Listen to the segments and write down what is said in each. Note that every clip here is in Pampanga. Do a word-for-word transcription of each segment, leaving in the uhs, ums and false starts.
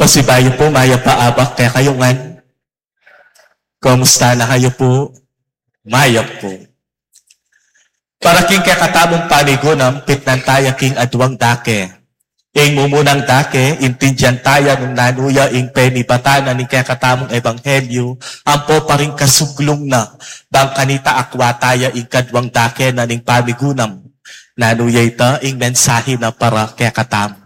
Pasibayu pu, mayap a abak kekayu ngan. Kumusta na kayu pu? Mayap pu. Para king kekatamung pamigunam, pitnan taya king aduang dake. Ing mumunang dake, intindian taya nung nanu ya ing penibatan na ning kekatamung ebanghelyu, ampo pa ring kasuglung na, bang kanita akwa taya ing kaduang dake na ning pamigunam. Nanu ya ita, ing mensahe na para kekatamu.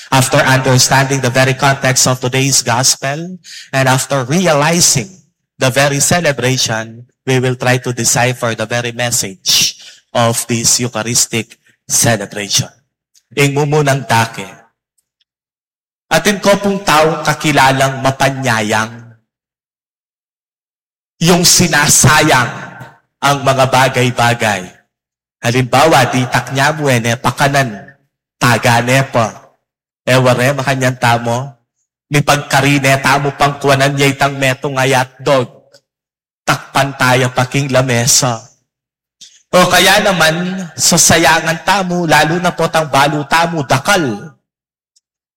After understanding the very context of today's gospel and after realizing the very celebration, we will try to decipher the very message of this Eucharistic celebration. Ing mumunang dake. Atin ko pung taung kakilalang mapanyayang, yung sinasayang ang mga bagay-bagay. Halimbawa, ditak ne mu, e ne pakanan, taga ne pa. E ware, makanyan tamu, mipagkarine tamu pang kuanan ya itang metung a hotdog. Takpan taya pa king lamesa. O kaya naman, sasayangan tamu, lalu na potang balu tamu, dakal.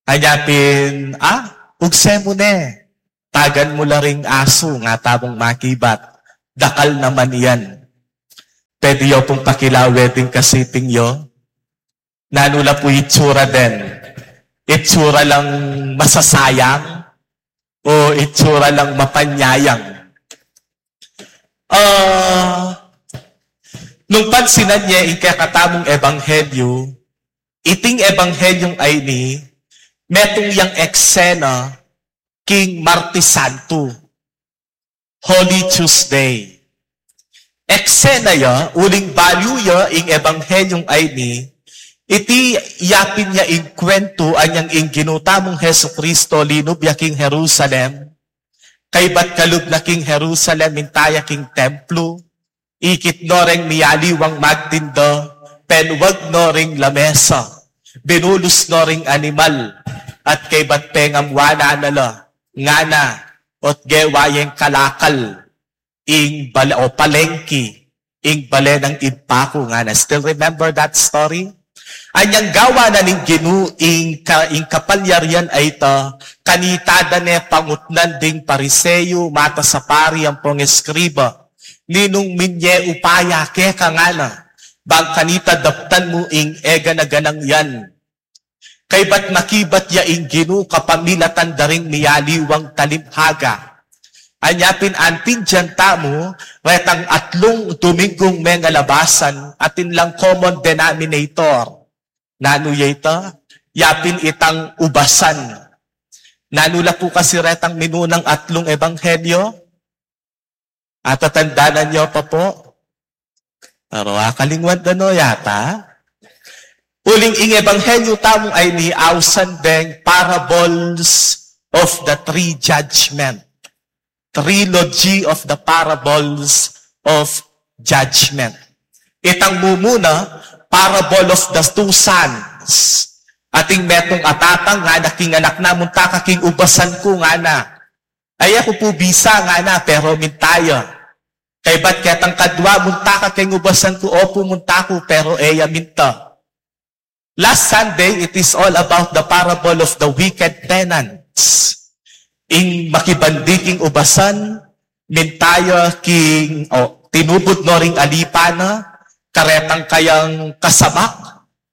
Anya pin, ah, ugse mu ne. Tagan mu la ring asu, nga tamung makibat. Dakal naman yan. Pwede yu pung pakilawe ding kasiping yu. Nanu la pu itsura den? Itsura lang masasayang o itsura lang mapanyayang? Ah, nung pansinan ye ing kekatamung ebanghelyu, iting ebanghelyu a ini, metung yang eksena king Martes Santo, Holy Tuesday. Eksena ya, uling balu ya ing ebanghelyu a ini, iti yapin ya ing kwentu anyang ing Ginu tamung Jesucristo linub ya king Jerusalem, kaybat kalub na king Jerusalem, minta ya king templo, ikit no reng miyaliwang magtinda, penwag no ring lamesa, binulus no ring animal, at kaybat pengamwanan na la, ngana, ot gewa yeng kalakal, ing bale, o palengki, ing bale nang Ibpa ku, ngana. Still remember that story? Anyang gawa na ning Ginu ing, ka, ing kapalyarian a ita, kanita da ne pangutnan ding Pariseo, matasapari ampong eskriba, ninung minye upaya keka, ngana, bang kanita daptan mu ing egana-ganang yan? Kaybat makibat ya ing Ginu kapamilatan da ring miyaliwang talimhaga. Anya pin antindian tamu, retang atlung Dominggung mengalabasan, atin lang common denominator. Nanu ya ita? Yapin itang ubasan. Nanu la pu kasi retang minunang atlung ebanghelyo? Atatandanan yu pa pu? Pero akalingwan da no yata. Uling ing ebanghelyu tamu a ini ausan deng parables of the three judgment. Trilogy of the parables of judgment. Itang mumuna, parable of the two sons. Ating metung a tatang, ngana king anak na, munta ka king ubasan ku, ngana. Ay, aku pu bisa, ngana, pero minta ya. Kaybat ketang kadwa, munta ka king ubasan ku, opu, munta ku, pero e ya minta. Last Sunday, it is all about the parable of the wicked tenants. Ing makibandi king ubasan, minta ya king, o, tinubud no ring alipa na, karetang kayang kasabak,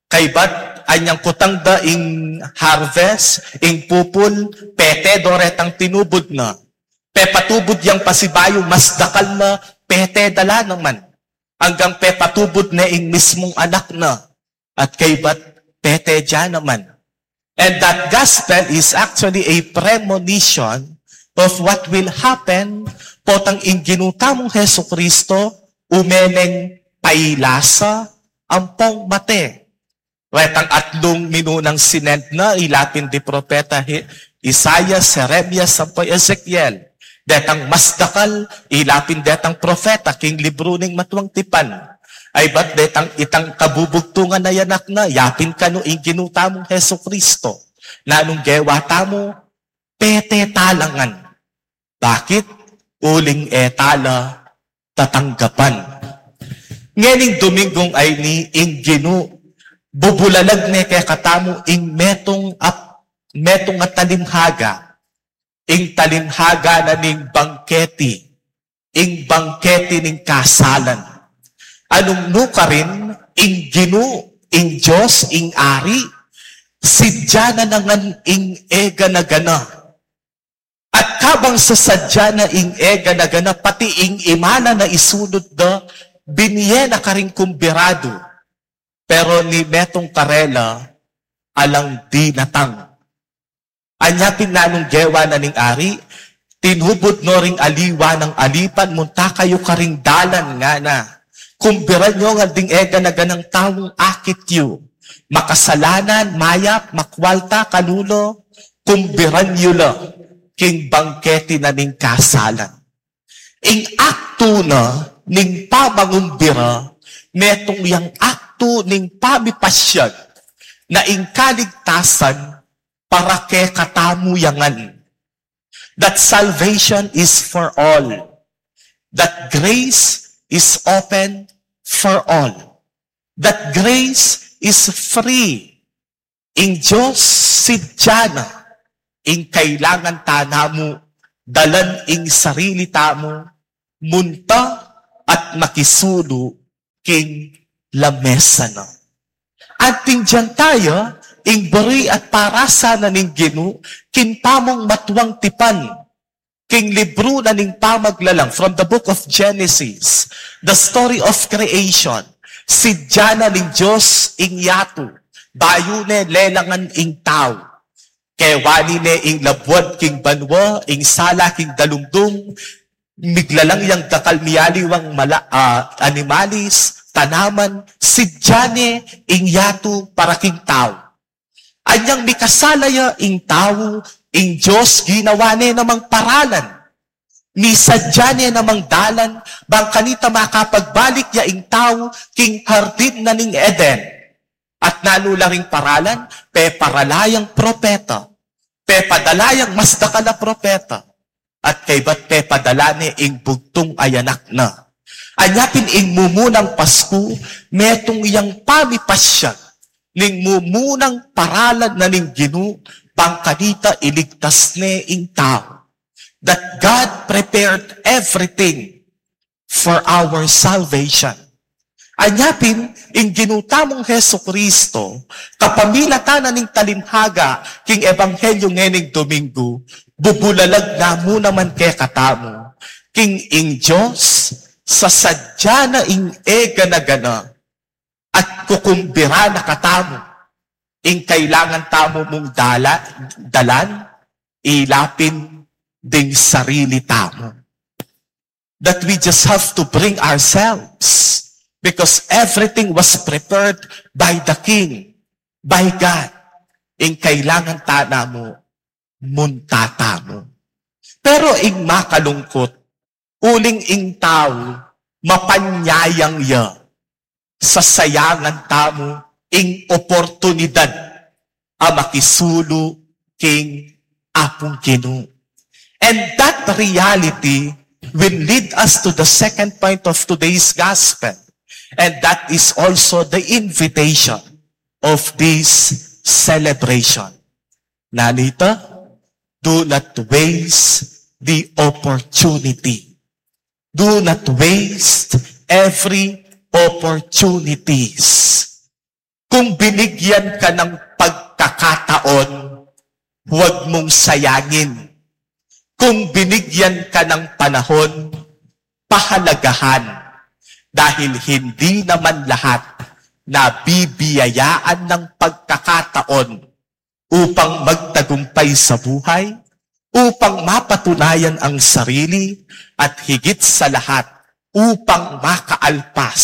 kaybat anyang kutang da ing harvest, ing pupul, pete do retang tinubud na. Pepatubud yang pasibayu, mas dakal na, pete da la naman. Anggang pepatubud ne ing mismung anak na, at kaybat pete da naman. And that gospel is actually a premonition of what will happen potang ing Ginu tamung Jesucristo ume neng pailasa ampong mate. Retang atlung minunang sinend na, ila pin di propeta Hi-, Isaias, Jeremias, ampong Ezekiel. Detang mas dakal, ila pin detang propeta king libru ning Matuang Tipan. Kaybat detang itang kabubugtungan a anak na, yapin kanu ing Ginu tamung Jesucristo. Nanung gewa tamu, pete tala ngan. Bakit? Uling e tala tatanggapan. Ngening Dominggung a ini ing Ginu, bubulalag ne kekatamu ing metung a, metung a talimhaga. ing talinghaga na ning bangketi, ing bangketi ning kasalan. Anung nu karin, ing Ginu, ing Dios, ing Ari, sidya na ngan ing e gana-gana. At kabang sasadya na ing e gana-gana, pati ing imana na isunut da, binie na karing kumbiradu. Pero ni metung karela, alang dinatang. Anya pin nanung gewa na ning Ari, tinubud no ring aliwa nang alipan, munta kayu karing dalan ngana. Kumbiran yu ngan ding e gana-ganang taung akit yu. Makasalanan, mayap, makwalta, kalulu, kumbiran yu la king bangketi na ning kasalan. Ing aktu na ning pamangumbira, metung yang aktu ning pamipasyag na ing kaligtasan para kekatamu ya ngan. That salvation is for all. That grace is open for all. That grace is free. Ing Dios sidya na, ing kailangan ta namu, dalan ing sarili tamu, munta at makisulu king lamesa na. At ing dian taya, ing buri at parasa na ning Ginu, king pamung matuang tipan, king libru na ning pamaglalang, from the book of Genesis, the story of creation, sidya na ning Dios ing yatu, bayu ne lelangan ing tau. Kewani ne ing labuad king banua, ing sala king dalungdung, miglalang yang dakal mialiwang mala-, ah, animalis, tanaman, sidya ne ing yatu para king tau. Anyang mikasala ya ing tau, ing Dios ginawa ne namang paralan. Misadya ne namang dalan, bang kanita makapagbalik ya ing tau, king hardin na ning Eden. At nanu la ring paralan, peparala yang propeta. Pepadala yang mas dakal a propeta. At kaybat pepadala ne ing bugtung a anak na. Anya pin ing mumunang Pasku, metung yang pamipasyag ning mumunang paralan na ning Ginu, bang kanita iligtas ne ing tau. That God prepared everything for our salvation. Anya pin, ing Ginu tamung Jesucristo, kapamilatan na ning talinghaga king ebanghelyu ngening Domingo, bubulalag na mu naman kekatamu, king ing Dios, sasadya na ing e gana-gana, at kukumbira na katamu, ing kailangan tamu mung dala-, dalan, ila pin ding sarili tamu. That we just have to bring ourselves because everything was prepared by the King, by God. Ing kailangan ta namu, munta tamu. Pero ing makalungkut, uling ing tau, mapanyayang ya, sasayangan tamu ing oportunidad a makisulu king Apung Ginu. And that reality will lead us to the second point of today's gospel. And that is also the invitation of this celebration. Nanita, do not waste the opportunity. Do not waste every opportunities. Kung binigyan ka ng pagkakataon, huwag mong sayangin. Kung binigyan ka ng panahon, pahalagahan. Dahil hindi naman lahat nabibiyayaan ng pagkakataon upang magtagumpay sa buhay, upang mapatunayan ang sarili, at higit sa lahat, upang makaalpas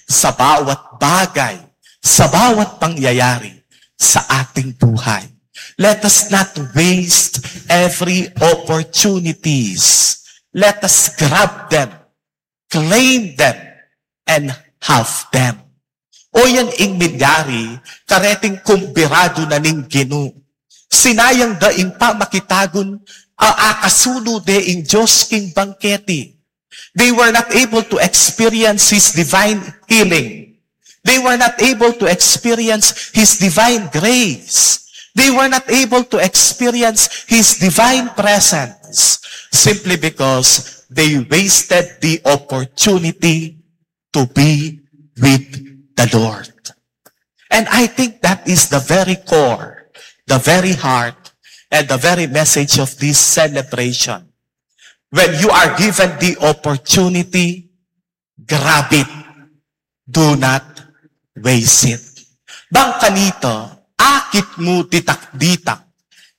sa bawat bagay, sa bawat pangyayari sa ating buhay. Let us not waste every opportunities. Let us grab them, claim them, and have them. O yan ing milyari, kareting kumbiradu na ning Ginu. Sinayang da ing pamakitagun a akasulu de ing Dios king bangketi. They were not able to experience His divine healing. They were not able to experience His divine grace. They were not able to experience His divine presence simply because they wasted the opportunity to be with the Lord. And I think that is the very core, the very heart, and the very message of this celebration. When you are given the opportunity, grab it. Do not waste it. Bang kanita, akit mu ditak-ditak.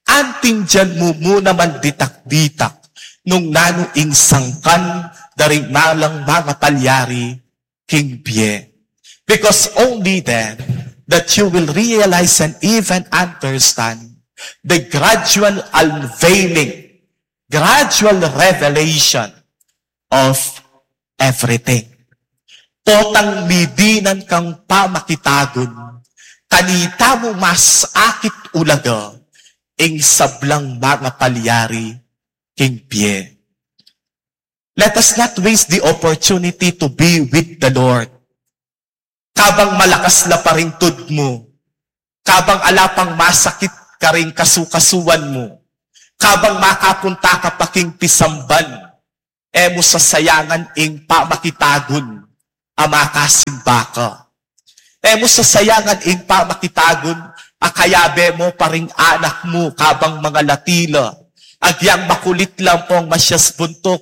Anting dinan mu mu naman ditak-ditak nung nanu ing sangkan da ring malang mangapalyari king bie. Because only then that you will realize and even understand the gradual unveiling, gradual revelation of everything. Potang midinan kang pamakitagun, kanita mu mas akit ulaga ing sablang mangapalyari king bie. Let us not waste the opportunity to be with the Lord. Kabang malakas la pa ring tud mu, kabang ala pang masakit karing kasukasuan mu, kabang makapunta ka pa king pisamban, e mu sasayangan ing pamakitagun a makasimba ka. E mu sasayangan ing pamakitagun a kayabe mu pa ring anak mu kabang mangalati la. Agyang makulit lang pong masyas buntuk.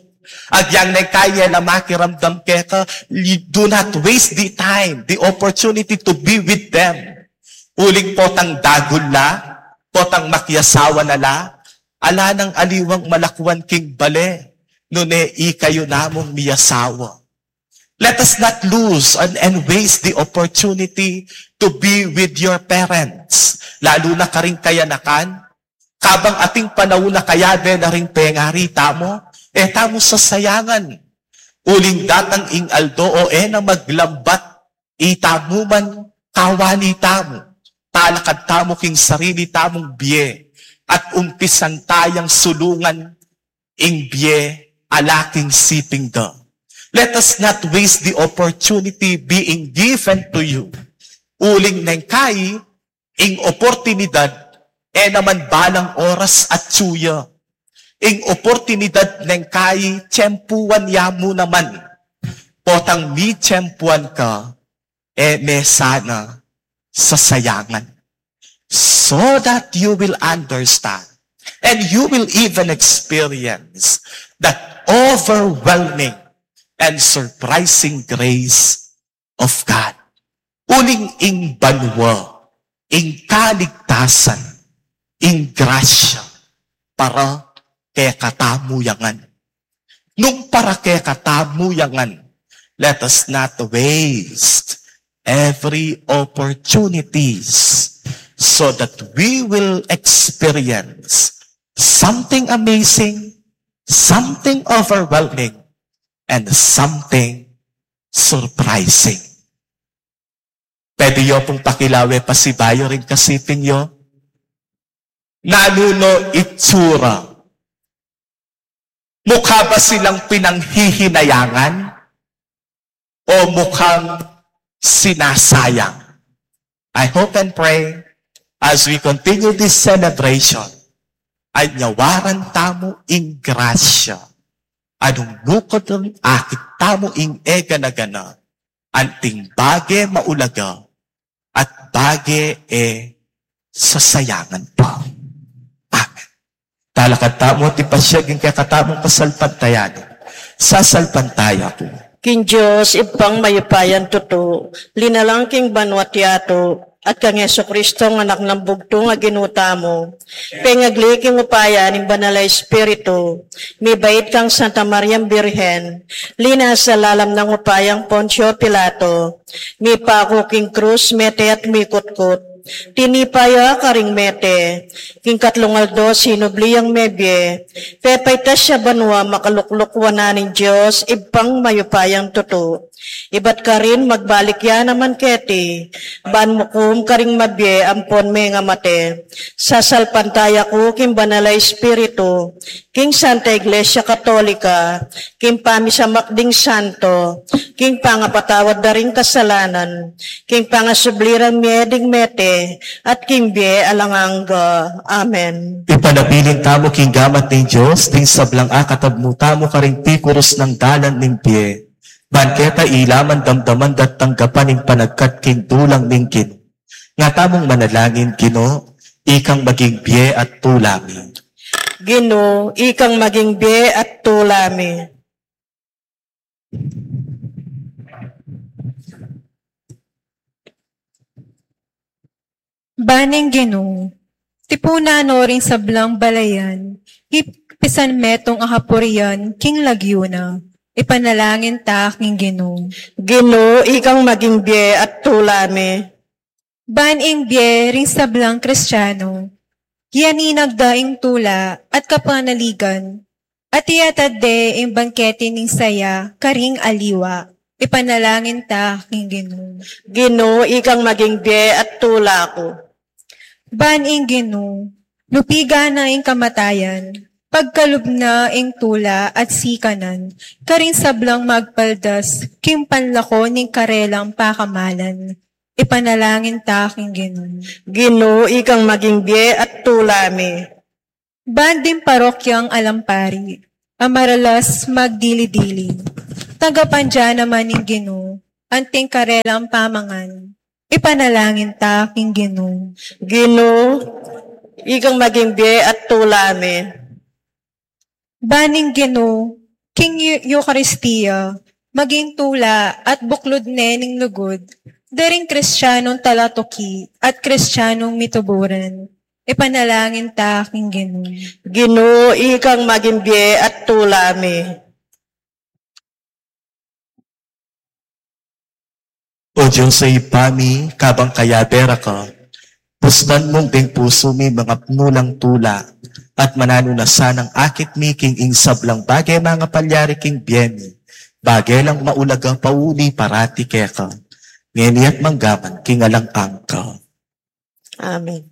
Agyang neng kaya na makiramdam keka, you do not waste the time, the opportunity to be with them. Uling potang dagul la, potang makiasawa na la, ala nang aliwang malakuan king bale, nune ikayu namung miasawa. Let us not lose and, and waste the opportunity to be with your parents. Lalu na karing kayanakan, kabang ating panaun a kayabe na ring pengari tamu, e tamu sasayangan. Uling datang ing aldo o e na maglambat, itamu man kawani tamu, talakad tamu king sarili tamung bie, at umpisan tayang sulungan ing bie a la king siping da. Let us not waste the opportunity being given to you. Uling neng kai, ing oportunidad, e naman balang oras atsu ya. Ing oportunidad neng kai, tiyempuan ya mu naman. Potang mitiyempuan ka, e me sana sasayangan. So that you will understand and you will even experience that overwhelming and surprising grace of God. Uling ing banua, ing kaligtasan, ing grasya, para kekatamu ya ngan. Nung para kekatamu ya ngan, let us not waste every opportunities so that we will experience something amazing, something overwhelming, and something surprising. Pwede yo pung pakilawe pasibayu ring kasiping yo? Nanu no itsura? Mukha ba silang pinanghihinayangan o mukhang sinasayang? I hope and pray as we continue this celebration, anyawaran tamu ing grasya, anung lukut ring akit tamu ing e gana-gana, anting bage maulaga, at bage e sasayangan pa. Amen. Talakad tamu at ipasyag ing kekatamung kasalpantayanan. Sasalpantaya ku king Dios, Ibpang mayupayang tutu, linalang king banua't yatu, at kang Jesucristo, Anak nang bugtung a Ginu tamu, pengagli king upaya ning Banal a Espiritu, mibait kang Santa Mariang Birhen, linasa lalam nang upayang Poncio Pilato, mipaku king krus, mete at mikutkut, tinipa ya karing mete, king katlung aldo sinubli yang mebie, pepaitas ya banua, makalukluk wanan ning Dios, Ibpang mayupayang tutu. Ibat karin magbalik ya naman keti, ban mukum karing mabie ampon mengamate. Sasalpantaya ku king Banal a Espiritu, king Santa Iglesia Katolika, king pamisamak ding santo, king pangapatawad da ring kasalanan, king pangasubli rang mie ding mete, at king bie alang angga. Amen. Ipanabilin tamu king gamat ning Dios ding sablang akatab mu tamu karing pikurus nang dalan ning bie. Ban keta ila man damdaman da't tanggapan ing panagkat king dulang ning Ginu. Nga tamung manalangin, Ginu, ikang maging bie at tula mi. Ginu, ikang maging bie at tula mi. Ban ing Ginu, tipunan no ring sablang balayan, ipisan metung a kapurian king lagyu na. Ipanalangin ta king Ginu. Ginu, ikang maging bie at tula mi. Ban ing bie ring sablang Kristiano, yaninag da ing tula at kapanaligan, at iyatad de ing bangkete ning saya karing aliwa. Ipanalangin ta king Ginu. Ginu, ikang maging bie at tula ku. Ban ing Ginu, lupigan na ing kamatayan, pagkalub na ing tula at sikanan, karing sablang magpaldas king panlako ning karelang pakamalan. Ipanalangin ta king Ginu. Ginu, ikang maging bie at tula mi. Ban ding parokyang Alampari a maralas magdili-dili, tanggapan da naman ning Ginu anting karelang pamangan. Ipanalangin ta king Ginu. Ginu, ikang maging bie at tula mi. Ban ing Ginu, king Eu-, Eukaristia, maging tula at buklud ne ning lugud da ring Kristianong talatuki at Kristianong mituburan. Ipanalangin ta king Ginu. Ginu, ikang maging bie at tula mi. O Dios a Ibpa mi, kabang kayabe ra ka, pustan mung deng pusu mi mangapnu lang tula, at mananu na sanang akit mi king ing sablang bage mangapalyari king bie mi, bage lang maulaga pauli parati keka, ngeni at manggaman king alang angga. Amen.